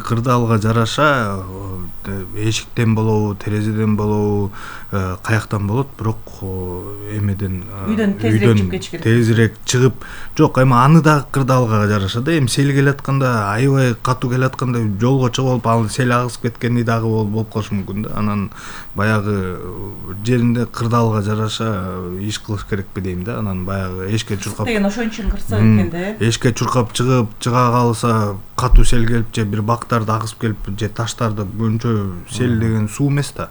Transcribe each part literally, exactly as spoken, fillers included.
кырдаалга жараша эшиктен болобу, терезеден болобу, каяктан болот, бирок эмеден үйдөн тезирээк чыгып кетиш керек. Тезирээк чыгып, жок, эми аны дагы кырдаалга жараша да. Эми сел келатканда, аябай катуу келатканда жолго чыгып алып, ал сел агызып кеткени дагы болуп калышы мүмкүн да. Анан баягы жеринде кырдаалга жараша иш кылыш керекпи дейм да. Анан баягы эшикке чуркап деген ошон үчүн кырсык экен да. Эшикке чуркап чыгып, чыга калса катуу сел келип же бир бактарды агызып келип же таштарды көбүнчө сел деген суу эмес да.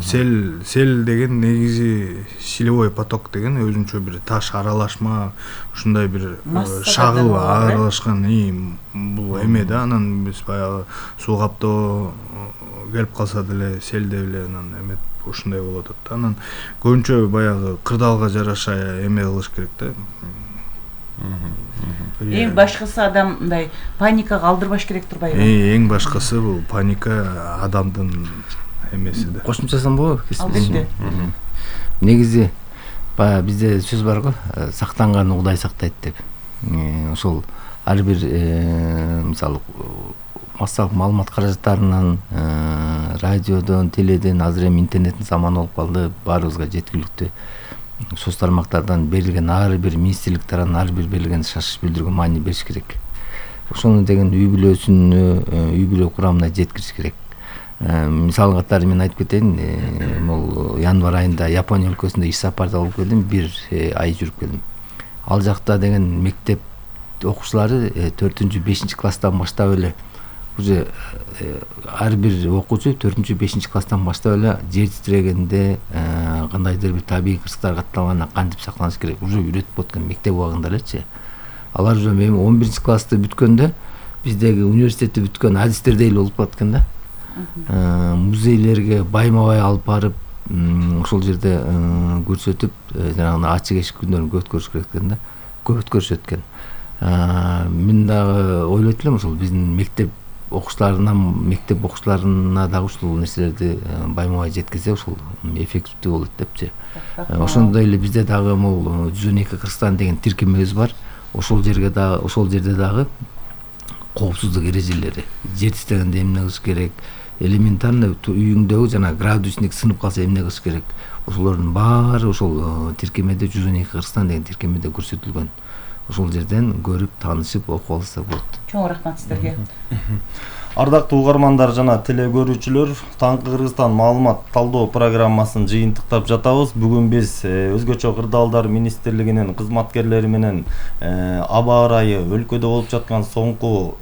Сел сел деген негизи силевой поток деген өзүнчө бир таш аралашма, ушундай бир шагыл аралашкан бул эме да. Анан биз баягы суу каптоо келип калса деле селде эле анан эме ушундай болуп атат да. Анан көбүнчө баягы кырдаалга жараша эме кылыш керек да. Эң башкысы адам мындай паникага алдырбаш керек турбайбы? Эң башкысы бул паника адамдын эмеси да. Кошумчасам болобу? Албетте. Негизи баягы бизде сөз бар го, сактанган Кудай сактайт деп. Ошол ар бир мисалы массалык маалымат каражаттарынан, радиодон, теледен, азыр эми интернеттин заманы болуп калды, баарыбызга жеткиликтүү. Соц тармактардан берилген ар бир министрлик тарабынан ар бир берилген шашып билдирүүгө маани бериш керек. Ошону деген үй бүлөсүнө, үй бүлө курамына жеткириш керек. Мисал катары мен айтып кетейин, бул январь айында Япония өлкөсүндө иш сапарда болуп келдим, бир ай жүрүп келдим. Ал жакта деген мектеп окуучулары төртүнчү бешинчи класстан баштап эле уже ар бир окуучу төртүнчү бешинчи класстан баштап эле жер титирегенде кандайдыр бир табигый кырсыктар катталганда кантип сактаныш керек уже үйрөтүп аткан мектеп убагында элечи. Алар уже эми он биринчи классты бүткөндө биздеги университетти бүткөн адистердей эле болуп калаткан да. Музейлерге байма-бай алып барып, ошол жерде көрсөтүп, жанагы ачык эшик күндөрүн көп өткөрүш керек экен да. Көп өткөрүшөт экен. Мен дагы ойлойт элем ошол биздин мектеп окуучуларына, мектеп окуучуларына дагы ушул нерселерди байма-бай жеткизсе, ошол эффективдүү болот депчи. Ошондой эле бизде дагы могул жүз он эки Кыргызстан деген тиркемебиз бар. Ошол жерге дагы, ошол жерде дагы коопсуздук эрежелери, жер титирегенде эмне кылыш керек, элементарный үйүңдөгү жана градусник сынып калса эмне кылыш керек. Ошолордун баары ошол тиркемеде жүз он эки Кыргызстан деген тиркемеде көрсөтүлгөн. Ошол жерден көрүп, таанышып, окуп алса болот. Чоң рахмат сиздерге. Ардактуу угармандар жана телекөрүүчүлөр, Таңкы Кыргызстан маалымат талдоо программасын жыйынтыктап жатабыз. Бүгүн биз Өзгөчө кырдаалдар министрлигинин кызматкерлери менен аба ырайы, өлкөдө болуп жаткан соңку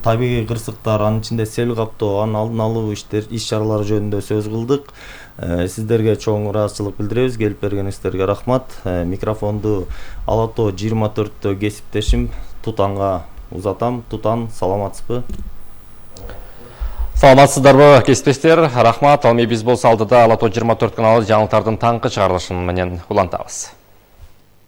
табигый кырсыктар, анын ичинде сел каптоо, анын алдын алуу иштер, иш-чаралары жөнүндө сөз кылдык. Сиздерге чоң ыраазычылык билдиребиз. Келип бергениңиздерге рахмат. Микрофонду Ала Тоо жыйырма төрттө кесиптешим Тутанга узатам. Тутан, саламатсызбы? Саламатсыздарбы, кесиптештер? Рахмат. Ал эми биз болсо алдыда Ала Тоо жыйырма төрт каналы жаңылыктардын таңкы чыгарылышын менен улантабыз.